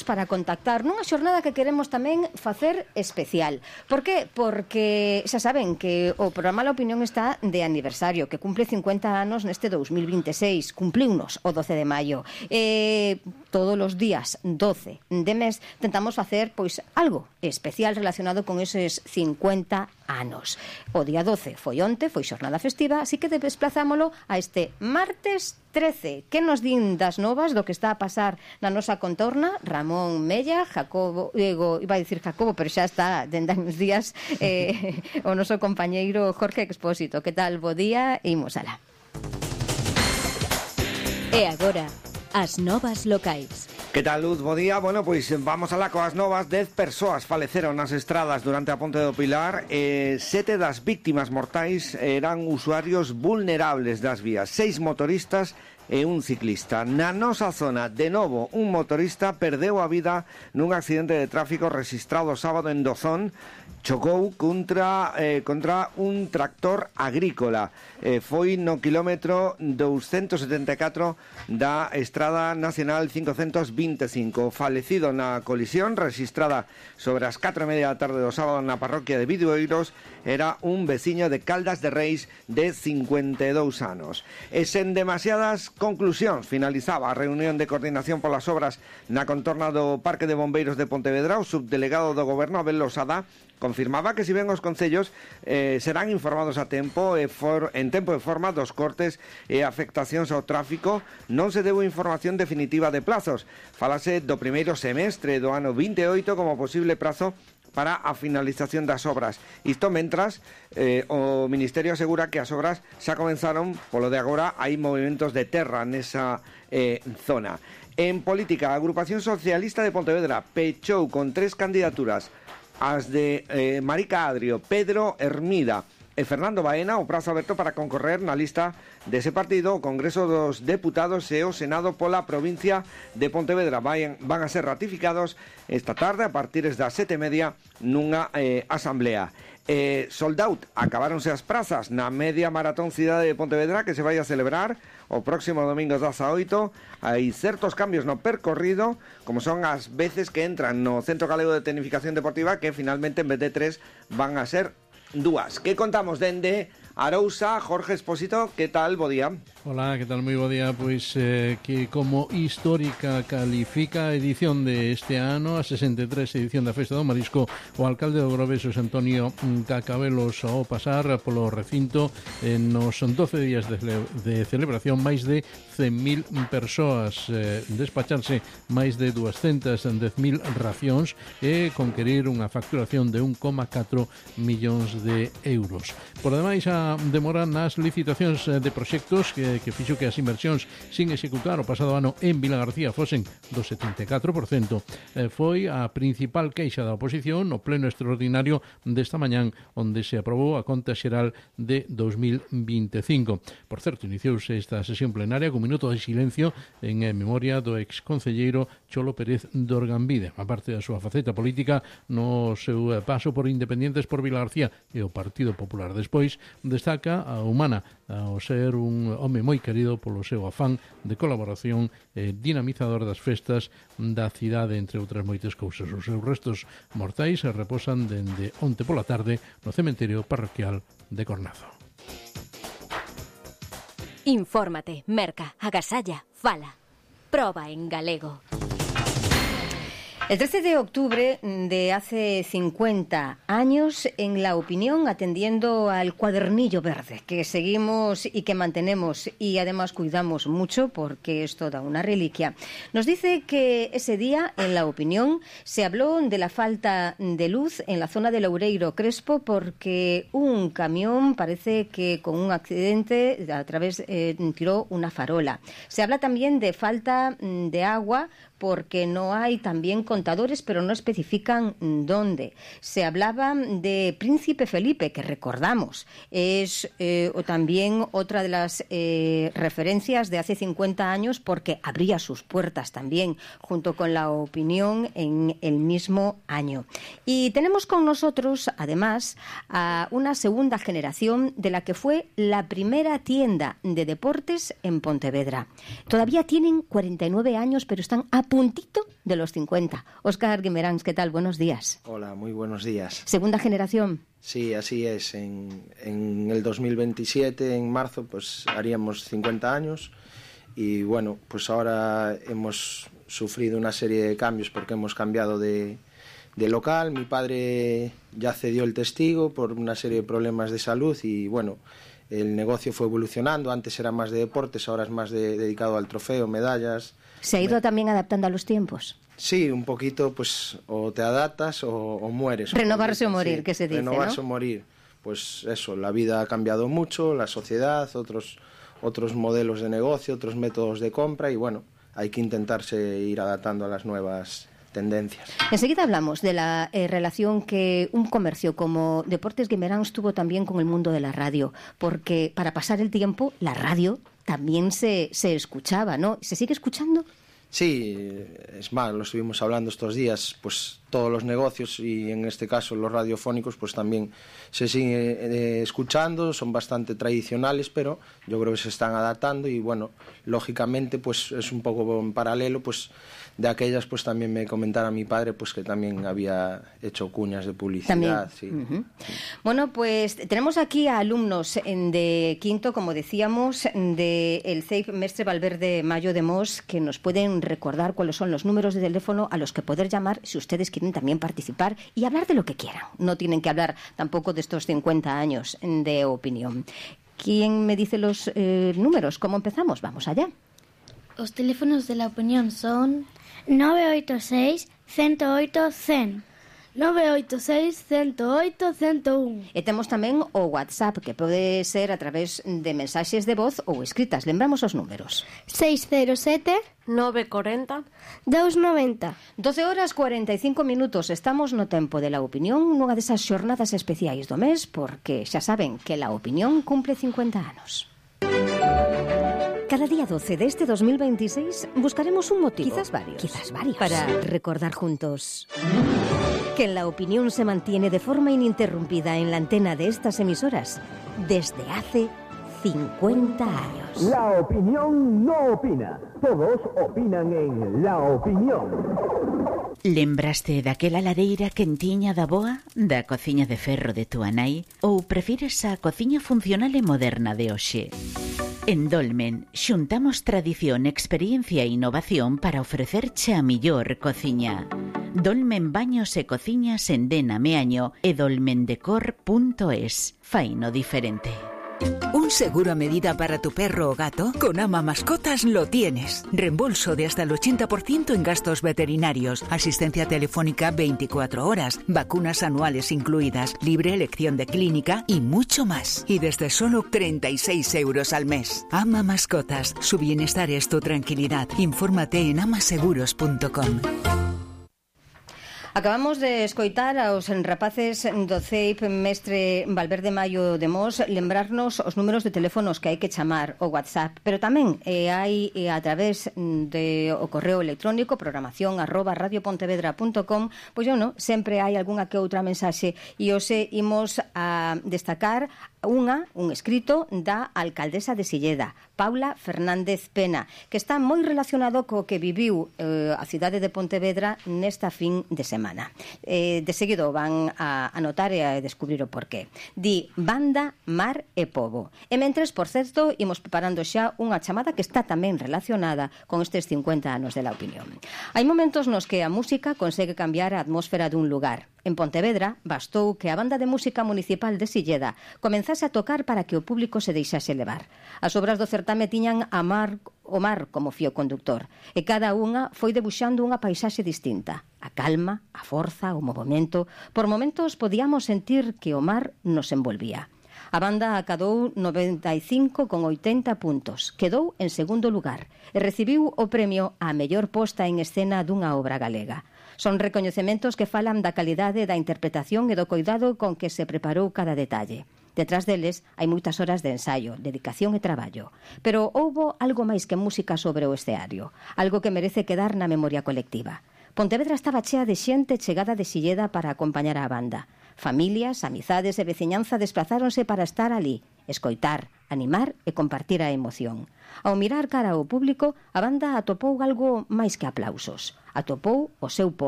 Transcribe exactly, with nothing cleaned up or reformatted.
para contactar nunha xornada que queremos tamén facer especial. Por que? Porque xa saben que o programa La Opinión está de aniversario, que cumple cincuenta anos neste dous mil vinte e seis, cumpliunos o doce de maio. Eh, todos os días doce de mes tentamos facer pois algo especial relacionado con eses cincuenta anos. O día doce foi onte, foi xornada festiva, así que desplazámolo a este martes trece. Que nos din das novas do que está a pasar na nosa contorna? Ramón Mella, Jacobo, Diego, iba a dicir Jacobo, pero xa está dende uns días eh, o noso compañeiro Jorge Expósito. Que tal? Bo día, e imos alá. E agora, as novas locais. Que tal, Luz? Bo día. Bueno, pois vamos alá coas novas. Dez persoas faleceron nas estradas durante a Ponte do Pilar. eh, Sete das víctimas mortais eran usuarios vulnerables das vías. Seis motoristas e un ciclista. Na nosa zona, de novo, un motorista perdeu a vida nun accidente de tráfico registrado sábado en Dozón. Chocou contra, eh, contra un tractor agrícola. Eh, foi no quilómetro doscientos setenta e catro da Estrada Nacional quinhentos e vinte e cinco. Falecido na colisión registrada sobre as catro e media da tarde do sábado na parroquia de Bidueiros era un veciño de Caldas de Reis de cincuenta e dous anos. E sen demasiadas conclusións finalizaba a reunión de coordinación polas obras na contorna do Parque de Bombeiros de Pontevedra. O subdelegado do Goberno, Abel Losada, confirmaba que si ben os concellos eh, serán informados a tempo e for, en tempo e forma dos cortes e afectacións ao tráfico, non se deu información definitiva de plazos. Falase do primeiro semestre do ano vinte e oito como posible prazo para a finalización das obras. Isto mentras eh, o Ministerio asegura que as obras xa comenzaron, polo de agora hai movimentos de terra nesa eh, zona. En política, a Agrupación Socialista de Pontevedra pechou con tres candidaturas, as de eh, Marica Adrio, Pedro Hermida e Fernando Baena, o prazo aberto para concorrer na lista dese partido o Congreso dos Deputados e o Senado pola provincia de Pontevedra. Van, van a ser ratificados esta tarde a partir das sete e media nunha eh, asamblea. Eh, sold out, acabáronse as prazas na media maratón Cidade de Pontevedra que se vai a celebrar o próximo domingo dezaoito. Hai certos cambios no percorrido, como son as veces que entran no Centro Galego de Tecnificación Deportiva, que finalmente en vez de tres van a ser dúas. Que contamos dende Arousa? Jorge Expósito, que tal? Bo día. Hola, que tal? Moi bo día. Pois eh, que como histórica califica a edición de este ano, a sesenta e tres edición da Festa do Marisco, o alcalde do Grove, Xosé Antonio Cacabelos, ao pasar polo recinto en nos doce días de, de celebración, máis de cen mil persoas, eh, despacharse máis de duascentas dez mil racións e conquerir unha facturación de un coma catro millóns de euros. Por demais, a demora nas licitacións de proxectos que, que fixo que as inversións sin executar o pasado ano en Vila García fosen do setenta e catro por cento. Eh, foi a principal queixa da oposición no pleno extraordinario desta mañán, onde se aprobou a conta xeral de dos mil vinte e cinco. Por certo, iniciouse esta sesión plenaria con minuto de silencio en memoria do exconcelleiro Cholo Pérez de Orgambide, a parte da súa faceta política no seu paso por Independientes por Vila García e o Partido Popular. Despois destaca a humana ao ser un home moi querido polo seu afán de colaboración e dinamizador das festas da cidade, entre outras moitas cousas. Os seus restos mortais se reposan dende onte pola tarde no cementerio parroquial de Cornazo. Infórmate, merca, agasalla, fala. Proba en galego. El trece de octubre de hace cincuenta años, en La Opinión, atendiendo al cuadernillo verde que seguimos y que mantenemos y además cuidamos mucho porque es toda una reliquia, nos dice que ese día en La Opinión se habló de la falta de luz en la zona de Loureiro Crespo porque un camión parece que con un accidente a través eh, tiró una farola. Se habla también de falta de agua porque no hay también contadores, pero no especifican dónde. Se hablaba de Príncipe Felipe, que recordamos, es eh, o también otra de las eh, referencias de hace cincuenta años, porque abría sus puertas también, junto con La Opinión, en el mismo año. Y tenemos con nosotros, además, a una segunda generación de la que fue la primera tienda de deportes en Pontevedra. Todavía tienen cuarenta y nueve años, pero están a puntito de los cincuenta. Óscar Guimeráns, ¿qué tal? Buenos días. Hola, muy buenos días. ¿Segunda generación? Sí, así es. En, en el dos mil veintisiete, en marzo, pues haríamos cincuenta años y bueno, pues ahora hemos sufrido una serie de cambios porque hemos cambiado de, de local. Mi padre ya cedió el testigo por una serie de problemas de salud y bueno, el negocio fue evolucionando. Antes era más de deportes, ahora es más de, dedicado al trofeo, medallas. ¿Se ha ido me... también adaptando a los tiempos? Sí, un poquito, pues o te adaptas o, o mueres. Renovarse o morir, sí, que se dice, Renovarse ¿no? o morir. Pues eso, la vida ha cambiado mucho, la sociedad, otros, otros modelos de negocio, otros métodos de compra y bueno, hay que intentarse ir adaptando a las nuevas tendencias. Enseguida hablamos de la eh, relación que un comercio como Deportes Guimeráns tuvo también con el mundo de la radio, porque para pasar el tiempo, la radio también se, se escuchaba, ¿no? ¿Se sigue escuchando? Sí, es más, lo estuvimos hablando estos días, pues todos los negocios y en este caso los radiofónicos pues también se siguen eh, escuchando, son bastante tradicionales, pero yo creo que se están adaptando y bueno, lógicamente pues es un poco en paralelo, pues de aquellas pues también me comentara mi padre pues que también había hecho cuñas de publicidad. Sí. Uh-huh. Bueno, pues tenemos aquí a alumnos en de quinto, como decíamos, de el C E I P Mestre Valverde Mayo de Mos, que nos pueden recordar cuáles son los números de teléfono a los que poder llamar si ustedes quieren también participar y hablar de lo que quieran. No tienen que hablar tampoco de estos cincuenta años de opinión. ¿Quién me dice los eh, números? ¿Cómo empezamos? Vamos allá. Os teléfonos de la opinión son nove oito seis, cento oito, cen. nove oito seis, cento oito, cento un. E temos tamén o WhatsApp, que pode ser a través de mensaxes de voz ou escritas. Lembramos os números. seis cero sete, nove corenta, dous noventa. doce horas cuarenta e cinco minutos. Estamos no tempo de la opinión, nunha desas xornadas especiais do mes, porque xa saben que la opinión cumple cincuenta anos. Cada día doce de este dos mil veintiséis buscaremos un motivo, quizás varios, quizás varios, para recordar juntos que la opinión se mantiene de forma ininterrumpida en la antena de estas emisoras desde hace cincuenta años. La opinión no opina. Todos opinan en La Opinión. Lembraste daquela lareira quentiña da boa, da cociña de ferro de túa nai, ou prefires a cociña funcional e moderna de hoxe? En Dolmen xuntamos tradición, experiencia e innovación para ofrecerche a millor cociña. Dolmen Baños e Cociñas en Dena Meaño e dolmendecor punto es. Faino diferente. ¿Un seguro a medida para tu perro o gato? Con Ama Mascotas lo tienes. Reembolso de hasta el ochenta por ciento en gastos veterinarios, asistencia telefónica veinticuatro horas, vacunas anuales incluidas, libre elección de clínica y mucho más. Y desde solo treinta y seis euros al mes. Ama Mascotas, su bienestar es tu tranquilidad. Infórmate en amaseguros punto com. Acabamos de escoitar aos rapaces do C E I P Mestre Valverde Mayo de Mos lembrarnos os números de teléfonos que hai que chamar o WhatsApp, pero tamén eh, hai eh, a través de o correo electrónico programación arroba radiopontevedra punto com, pois eu non, sempre hai algunha que outra mensaxe e hoxe imos a destacar unha, un escrito da alcaldesa de Silleda, Paula Fernández Pena, que está moi relacionado co que viviu eh, a cidade de Pontevedra nesta fin de semana. Eh, de seguido van a anotar e a descubrir o porqué. Di banda, mar e pobo. E mentres, por certo, imos preparando xa unha chamada que está tamén relacionada con estes cincuenta anos de La Opinión. Hai momentos nos que a música consegue cambiar a atmósfera dun lugar. En Pontevedra bastou que a banda de música municipal de Silleda comenzase a tocar para que o público se deixase levar. As obras do certame tiñan a mar, o mar como fío conductor e cada unha foi debuxando unha paisaxe distinta. A calma, a forza, o movimento. Por momentos podíamos sentir que o mar nos envolvía. A banda acadou noventa e cinco con oitenta puntos, quedou en segundo lugar e recibiu o premio á mellor posta en escena dunha obra galega. Son recoñecementos que falan da calidade da interpretación e do coidado con que se preparou cada detalle. Detrás deles hai moitas horas de ensaio, dedicación e traballo. Pero houbo algo máis que música sobre o escenario, algo que merece quedar na memoria colectiva. Pontevedra estaba chea de xente chegada de Silleda para acompañar á banda. Familias, amizades e veciñanza desplazáronse para estar ali, escoitar, animar e compartir a emoción. Ao mirar cara ao público, a banda atopou algo máis que aplausos. Atopou o seu pobo.